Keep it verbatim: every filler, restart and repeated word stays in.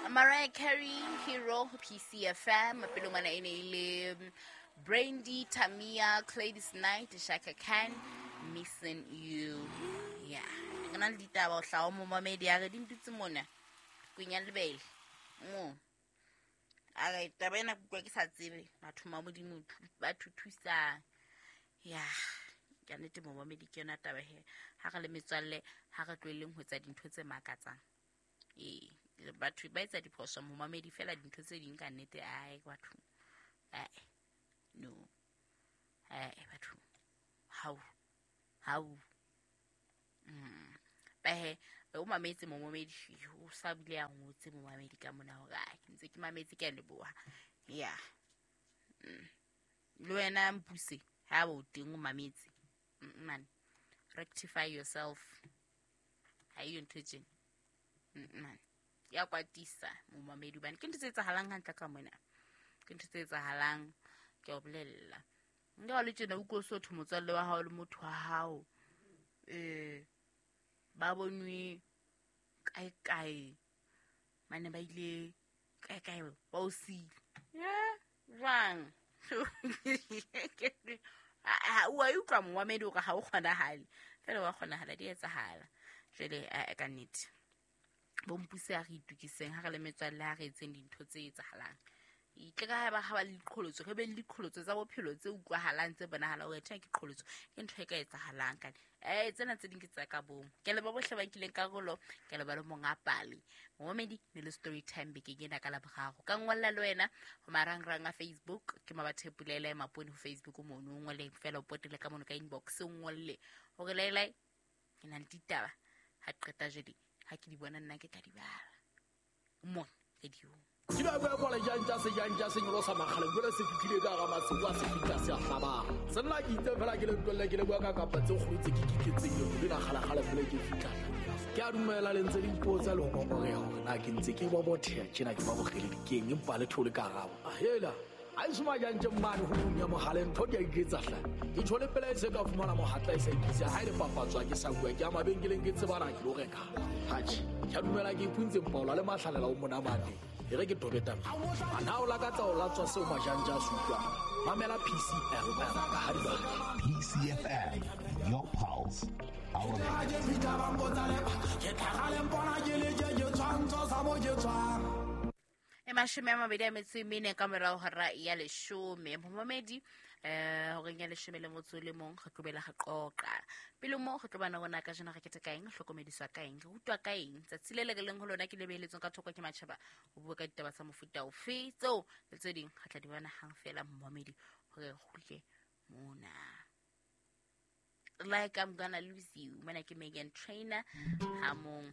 Mariah Carey, Hero, ho P C F M. Pele ngwana e ne e le Brandy, Tamia, Gladys Knight, Chaka Khan, Missing You. Yeah. Ke na le ditaba ho hlaha mo mamedi a re di ntutse mona. Kwenya lebele. Mo. A re taba ena ke utlwa ke sa tsebe batho ba Modimo ba thusang. Yeah. Ka nnete mo mamedi ke yona taba he. Ha re le metswalle, ha re tlohelleng ho etsa dintho tse makatsang. Ee, batho ba etsa diphoso mo mamedi fela dintho tse ding ka nnete ai batho. Ai. No. Ai batho. How? How? Mm. Ba he, o mametse mo mamedi o sa bile a ngotse mo mamedi ka mona hore ai ke ntse ke mametse ke a leboha. Yeah. Mm. Le wena mpuse ha o teng o mametse. Mm, man. Rectify yourself. Ha iyo ntho tjena. Mm, man. Ya kwatisa mo mamedi hobane ke ntho tse etsahalang hantle ka mona. Ke ntho tse etsahalang ke o bolella. Nka le tjena o utlwe so thwe motswalle wa hao le motho wa hao. Eh ba bonwe kae kae mane ba ile kae kae ba o siile. Yeah, jwang? O a utlwa momamedi hore ha o kgonahale. Fela wa kgonahala di etsahala. Jwale a ka nnete. Bo mpuse a re itukiseng ha re le metswalle ha re etseng dintho tse etsahalang. Itle ka ha ba ha ba le diqholotso, re be le diqholotso tsa bophelo tse utlwahalang tse bonahalang hore tjhe ke qholotso, ke ntho e ka etsahalang ka. Eh tsena tse ding ke tsa ka bong. Ke leboha bohle ba nkileng karolo, ke leboha le monga pale. Momamedi ne le story time bekeng ena ka Laboraro. Ka ngolla le wena ho marangrang a Facebook, ke Mabathe Pulele Mapone ho Facebook mono, o ngolle fela o potele ka mono ka inbox o ngolle hore lele ke na le ditaba ha qeta jwale ha ke di bona nna ke tla di bala. Mo radio. Ke ba bua kwa lejang se jang ja se nyolosa makgale jwale se fihlile ka hara masiu a se fihla se a hlabang. Senna ke itse fela ke le ntwelle ke le bua ka kapa tse kgolo tse ke kiketseng le lena kgalakgala pele ke fihla. Ke a dumela le ntse le ipotsa le ho ngongoreha hore na ke ntse ke bobotheha tjena ke ba bogele dikeng empa le thole ka arabo. Hela ha e soma jang tje mane ho ya mohale ntho di a iketsa hla. Ke tshole pele e se ka fumana mohatla e sa ikise ha ile papatswa ke sa bua ke a mabenkeleng ke tsebana ke lo reka. Hatjhe, ke a dumela ke ipuntse mpaola le mahlalela o monamane. E re ke tobeta. A na o lakatsa o latswa seo majanja a se utlwang. Mamela P C F M ka ha di batla. P C F M, your pulse, our E mashome a mabedi a metso e mene ka morao hora ya leshome. Momamedi eh horeng ya leshome le motso le mong re tlobela re qoqa. Pele mo re tlo bana rona ka jena re kete ka eng, hlokomediswa ka eng, re rutwa ka eng. Tsatsi le le re leng ho lona ke lebeletsweng ka thoko ke matjhaba ho bua ka ditaba tsa mofuta ofe tseo le tse ding re tla di bona hang fela momamedi hore re kgutle mona. Like I'm gonna lose you. Mona ke Megan Trainor ha mong